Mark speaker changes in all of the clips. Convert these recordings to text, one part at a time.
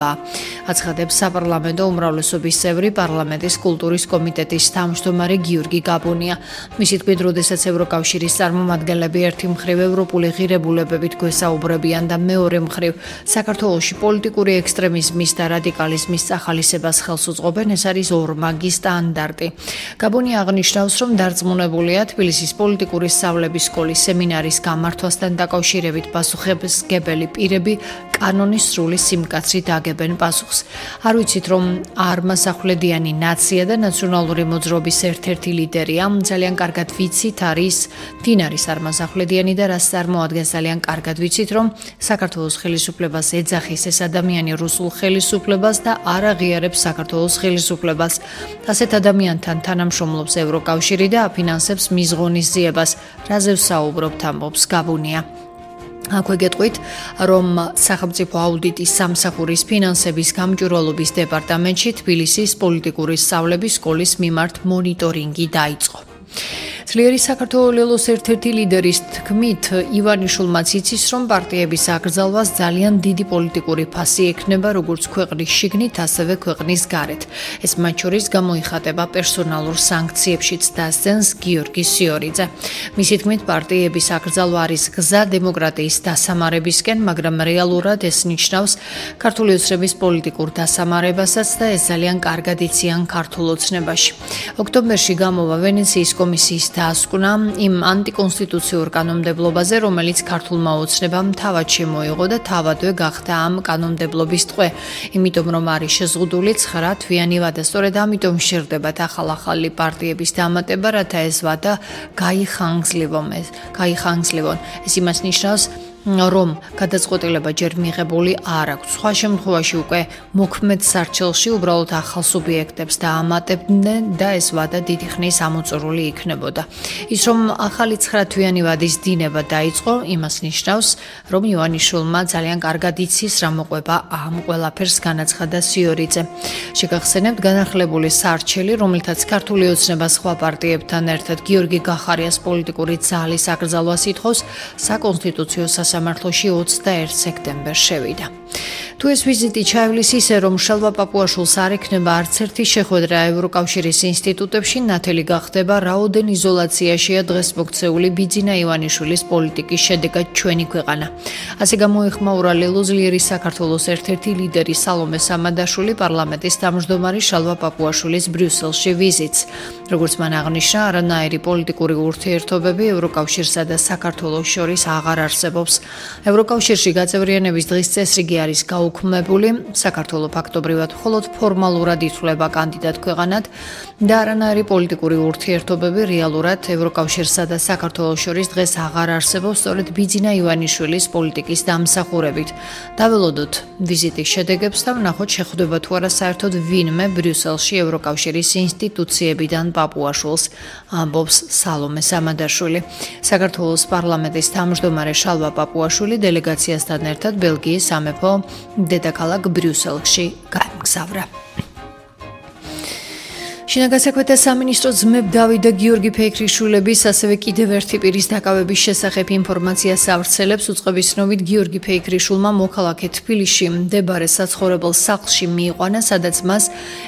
Speaker 1: აცხადებს საპარლამენტო უმრავლესობის წევრი პარლამენტის კულტურის კომიტეტის თავმჯდომარე გიორგი გაბუნია. მისი თქმით, როდესაც ევროკავშირის წარმომადგენლები ერთი მხრივ ევროპული ღირებულებებით გვესაუბრებიან და მეორე მხრივ საქართველოში პოლიტიკური ექსტრემიზმის და რადიკალიზმის წახალისებას ხელს უწყობენ, ეს არის ორმაგი სტანდარტი. გაბუნია აღნიშნავს, რომ დარწმუნებულია თბილისის პოლიტიკური სწავლების სკოლის სემინარის გამართვასთან დაკავშირებით პასუხისმგებელი პირები კანონის სრული სიმკაცრით აგებენ პასუხს. არ ვიცით, რომ არმასახვლედიანი ნაცია და ნაციონალური მოძრაობის ერთ-ერთი ლიდერია. ძალიან კარგად ვიცით, ვინ არის არმასახვლედიანი და რას წარმოადგენს. ძალიან კარგად ვიცით, რომ საქართველოს ხელისუფლებას ეძახის ეს ადამიანი რუსულ ხელისუფლებას და არ აღიარებს საქართველოს ხელისუფლებას. ასეთ ადამიანთან თანამშრომლობს ევროკავშირი და აფინანსებს მის ღონისძიებას. რაზე ვსაუბრობთ, ამბობს გაბუნია. აქვე გეტყვით, რომ სახელმწიფო აუდიტის სამსახურის ფინანსების გამჭვირვალობის დეპარტამენტში თბილისის პოლიტიკური სწავლების სკოლის მიმართ მონიტორინგი დაიწყო. ძლიერი საქართველოს ერთ-ერთი ლიდერის თქმით, ივანიშვილმაც იცის, რომ პარტიების აკრძალვას ძალიან დიდი პოლიტიკური ფასი ექნება როგორც ქვეყნის შიგნით, ასევე ქვეყნის გარეთ. ეს მათ შორის გამოიხატება პერსონალურ სანქციებშიც, დასძენს გიორგი სიორიძე. მისი თქმით, პარტიების აკრძალვა არის გზა დემოკრატიის დასამარებისკენ, მაგრამ რეალურად ეს ნიშნავს ქართული ოცნების პოლიტიკურ დასამარებასაც და ეს ძალიან კარგად იციან ქართულ ოცნებაში. ოქტომბერში გამოვა ვენეციის კომისიის დასკვნა იმ ანტიკონსტიტუციურ კანონმდებლობაზე, რომელიც ქართულმა ოცნებამ თავად შემოიღო და თავადვე გახდა ამ კანონმდებლობის ტყვე, იმიტომ რომ არის შეზღუდული 9 თვიანი ვადა. სწორედ ამიტომ სჭირდებათ ახალ-ახალი პარტიების დამატება, რათა ეს ვადა გაიხანგძლივონ. ეს იმას ნიშნავს, რომ გადაწყვეტილება ჯერ მიღებული არ აქვს. სხვა შემთხვევაში უკვე მოქმედ სარჩელში უბრალოდ ახალ სუბიექტებს დაამატებდნენ და ეს ვადა დიდი ხნის ამოწურული იქნებოდა. ის რომ ახალი 9 თვიანი ვადის დინება დაიწყო, იმას ნიშნავს, რომ ივანიშვილმა ძალიან კარგად იცის, რა მოყვება ამ ყველაფერს, განაცხადა სიორიძე. შეგახსენებთ, განახლებული სარჩელი, რომელთაც ქართული ოცნება სხვა პარტიებთან ერთად გიორგი გახარიას პოლიტიკური ძალის აკრძალვას ითხოვს, საკონსტიტუციო სამართლოში 21 სექტემბერს შევიდა. თუ ეს ვიზიტი ჩაივლის ისე, რომ შალვა პაპუაშვილს არ ექნება არც ერთი შეხვედრა ევროკავშირის ინსტიტუტებში, ნათელი გახდება, რაოდენ იზოლაციაშია დღეს მოქცეული ბიძინა ივანიშვილის პოლიტიკის შედეგად ჩვენი ქვეყანა. ასე გამოეხმაურა ლელოზლიერი საქართველოს ერთ-ერთი ლიდერი სალომე სამადაშვილი პარლამენტის თავმჯდომარე შალვა პაპუაშვილის ბრიუსელში ვიზიტს. როგორც მან აღნიშნა, არანაირი პოლიტიკური ურთიერთობები ევროკავშირსა და საქართველოს შორის აღარ არსებობს. ევროკავშირში გაწევრიანების დღის წესრიგი არის გაუქმებული, საქართველოს ფაქტობრივად მხოლოდ ფორმალურად ითვლება კანდიდატ ქვეყანად და არანაირი პოლიტიკური ურთიერთობები რეალურად ევროკავშირსა და საქართველოს შორის დღეს აღარ არსებობს, სწორედ ბიძინა ივანიშვილის პოლიტიკის დამსახურებით. დაველოდოთ ვიზიტის შედეგებს და ვნახოთ, შეხვდება თუ არა საერთოდ ვინმე ბრიუსელში ევროკავშირის ინსტიტუციებიდან პაპუაშვილს, ამბობს სალომე სამადაშვილი. საქართველოს პარლამენტის თავმჯდომარე შალვა პაპუაშვილი დელეგაციასთან ერთად ბელგიის სამეფო დედაქალაქ ბრიუსელში გაემგზავრა. შინაგან საქმეთა სამინისტრო ძმებ დავით და გიორგი ფეიქრიშვილების, ასევე კიდევ ერთი პირის დაკავების შესახებ ინფორმაციას ავრცელებს. უწყების ცნობით, გიორგი ფეიქრიშვილმა მოქალაქე თბილისში მდებარე საცხოვრებელ სახლში მიიყვანა, სადაც მას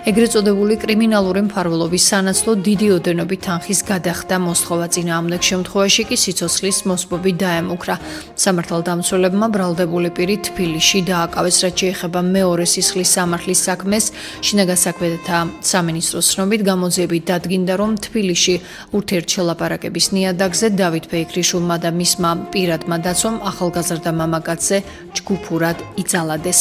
Speaker 1: ეგრეთ წოდებული კრიმინალური მფარველობის სანაცვლოდ დიდი ოდენობით თანხის გადახდა მოსთხოვა. წინააღმდეგ შემთხვევაში კი სიცოცხლის მოსპობი დაემუქრა. სამართალდამცველებმა ბრალდებული პირი თბილისში დააკავეს, რაც შეეხება მეორე სისხლის სამართლის საქმეს. შინაგან საქმეთა სამინისტროს ცნობით, გამოძიებით დადგინდა, რომ თბილისში ურთიერთშელაპარაკების ნიადაგზე დავით ფეიქრიშვილმა და მისმა პირადმა დაცვამ ახალგაზრდა მამაკაცზე ჯგუფურად იძალადეს.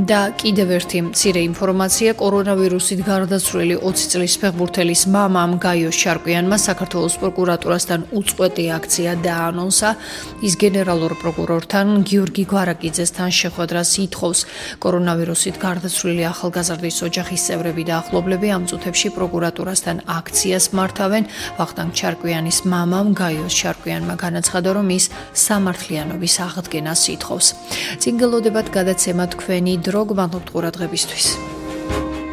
Speaker 1: და კიდევ ერთი მცირე ინფორმაცია, კორონავირუსით გარდაცვლილი 20 წლის ფეხბურთელის მამამ გაიოს შარკვიანმა საქართველოს პროკურატურასთან უწყვეტი აქცია დაანონსა. ის გენერალურ პროკურორთან გიორგი გვარაკიძესთან შეხვედრას ითხოვს. კორონავირუსით გარდაცვლილი ახალგაზრდის ოჯახის წევრები და ახლობლები ამ წუთებში პროკურატურასთან აქციას მართავენ. ვახტანგ ჩარკვიანის მამამ გაიოს შარკვიანმა განაცხადა, რომ ის სამართლიანობის აღდგენას ითხოვს. წინ გელოდებათ გადაცემა თქვენი დრო, გმადლობთ ყურადღებისთვის.